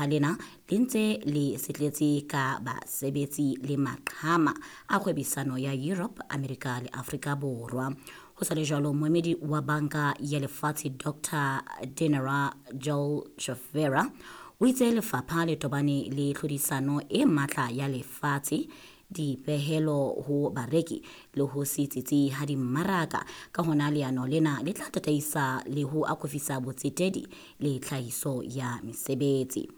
Lena le ntse le setletse ka basebetsi le maqhama a kgwebisano ya Europe, Amerika le Afrika Borwa. Ho sa le jwalo, moemedi wa Banka ya Lefatshe Dr Dinara Jol Jovera o itse lefapha le tobane le tlhodisano e matla ya lefatshe, dipehelo ho bareki le ho se tsitsi ha dimmaraka. Ka hona leano lena le tla tataisa le ho akofisa botsetedi le tlhahiso ya mesebetsi.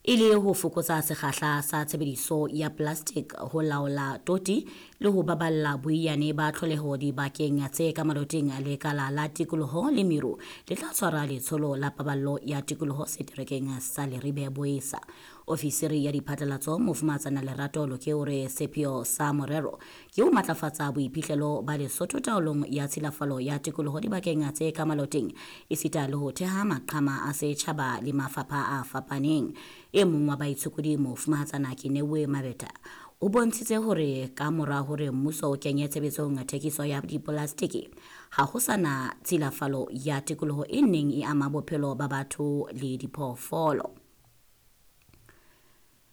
E le ho fokotsa sekgahla sa tshebediso ya plastic, ho laola toti le ho baballa boiyane ba tlholeho dibakeng tse ka maloting, Lekala la Tikoloho le Meru le tla tshwara letsholo la paballo ya tikoloho seterekeng sa Leribe Boesa. Ofisiri ya diphatlalatso, Mofumahatsana Lerato Loke, o re sepheo sa morero ke ho matlafatsa boiphihlelo ba Lesotho taolong ya tshilafalo ya tikoloho dibakeng tse ka maloting, esita le ho theha maqhama a setjhaba le mafapha a fapaneng. E mong wa baitshokodi, Mofumahatsana Kenewe Mabeta, o bontshitse hore ka mora hore mmuso o kenye tshebetsong thekiso ya dipolastiki, ha ho sana tshilafalo ya tikoloho e neng e ama bophelo ba batho le diphoofolo.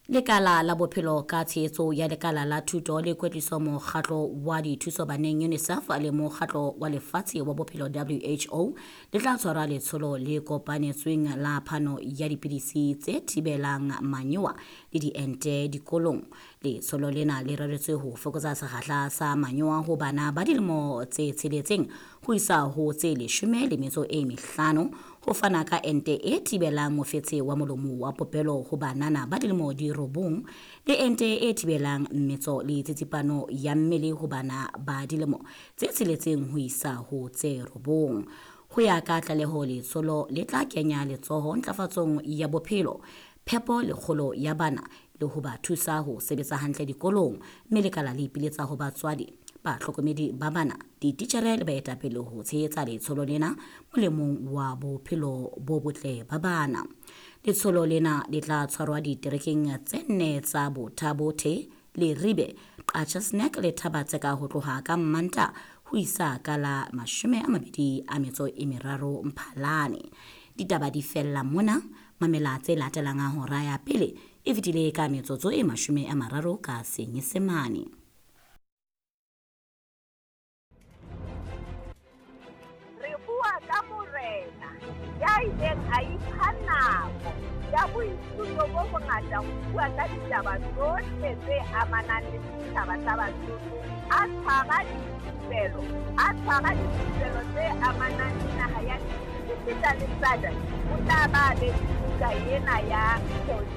Lekala la Bophelo ka tshehetso ya Lekala la Thuto le Kwetliso, Mokgatlo wa Dithuso Baneng UNICEF le Mokgatlo wa Lefatshe wa Bophelo WHO le tla tshwara letsholo le kopanetsweng la phano ya dipidisi tse thibelang manyowa le diente dikolong. Letsholo lena le reretswe ho fokotsa sekgahla sa manyowa ho bana ba dilemo tse 6 ho isa ho tse 15, ho fana ka ente e thibelang mofetshe wa molomo wa popelo ho banana ba dilemo di 9, le ente e thibelang mmetso le tsitsipano ya mmele ho bana ba dilemo tse 6 ho isa ho tse 9. Ho ya ka tlaleho, letsholo le tla kenya letsoho ntlafatsong ya bophelo, phepo le kgolo ya bana le ho ba thusa ho sebetsa hantle dikolong, mme lekala le ipiletsa ho batswadi, bahlokomedi ba bana, dititjhere le baetapele ho tshehetsa letsholo lena molemong wa bophelo bo botle ba bana. Letsholo lena le tla tshwarwa diterekeng tse nne tsa Botha-Bothe, Leribe, Qacha's Nek le Thaba-Tseka ho tloha ka Mmantaha ho isa ka la 23 Mphalane. Ditaba di fella mona. Mamela tse latelang a hora ya pele e fetile ka metsotso e 30 ka Senyesemane. Re bua ka morena ya ileng a ipha nako ya boithuto bo bongata ho bua ka ditaba tsohle tse amanang le setjhaba sa Basotho, a tshwara dithupelo tse amanang le naha ya esita le SADC. O tla ba be buka ena ya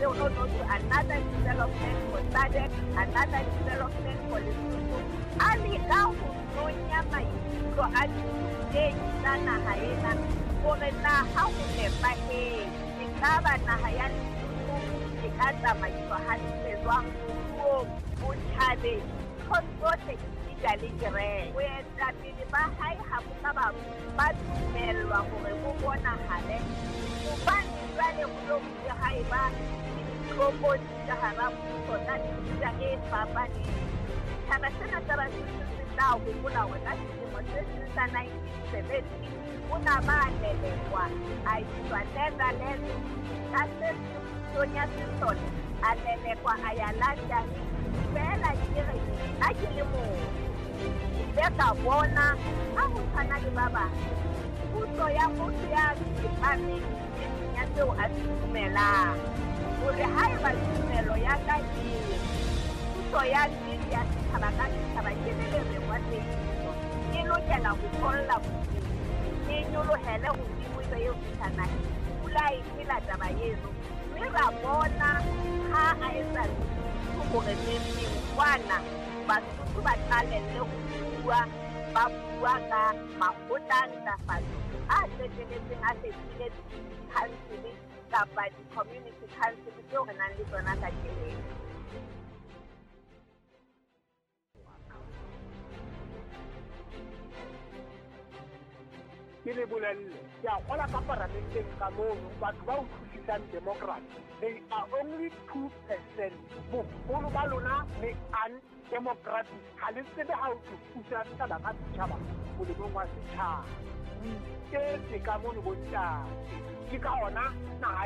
no no to another development for SADC, another development for Lesotho. A leka ho nonya maikutlo a dithutehi tsa naha ena hore na ha ho nepahetse ekaba naha ya Lesotho e ka tsamaiswa hantle jwang moruong, botjhabeng, nthong tsohle, esita le kereke. Boetapele ba hae ha bo ka ba dumellwa hore bo bonahale, hobane jwale ho lo bile ha eba le ditlokotsi ka hara puso tsa mefuta e fapaneng. Setjhaba sena sa Basotho se tla hopola hore ka selemo se seng sa 1970 o na ba lelekwa, a iswa Netherlands. Ka se seng pusong ya sesole a lelekwa, a ya London. Feela ke re nna ke le motho, ke ile ka bona ha ho tshwana le ba bang, puso ya motho ya tsepameng nneteng ya seo a se dumelang, hore haeba tumelo ya ka e re puso ya nnete ya setjhaba ka setjhaba ke le lerengwa teiso, e lokela ho tholla bodimo, e nyolohele hodimo, e be e fihla naheng. Pula e phela taba eno, mme ra bona ha a etsa hore neng kwana Basotho ba qalelle ho bua, ba bua ka makgotla a ntlafatso a qeteletseng a fetohile council kapa di-community council tseo re nang le tsona kajeno. Ke le bolelle, ke a kgola ka paramenteng ka mono batho ba utlwisisang democracy, they are only 2%. Boholo ba lona le undemocratic, ha le tsebe ha o thusa setjhaba ka setjhaba molemong wa setjhaba. O iketse ka mono bontate, ke ka ona naha.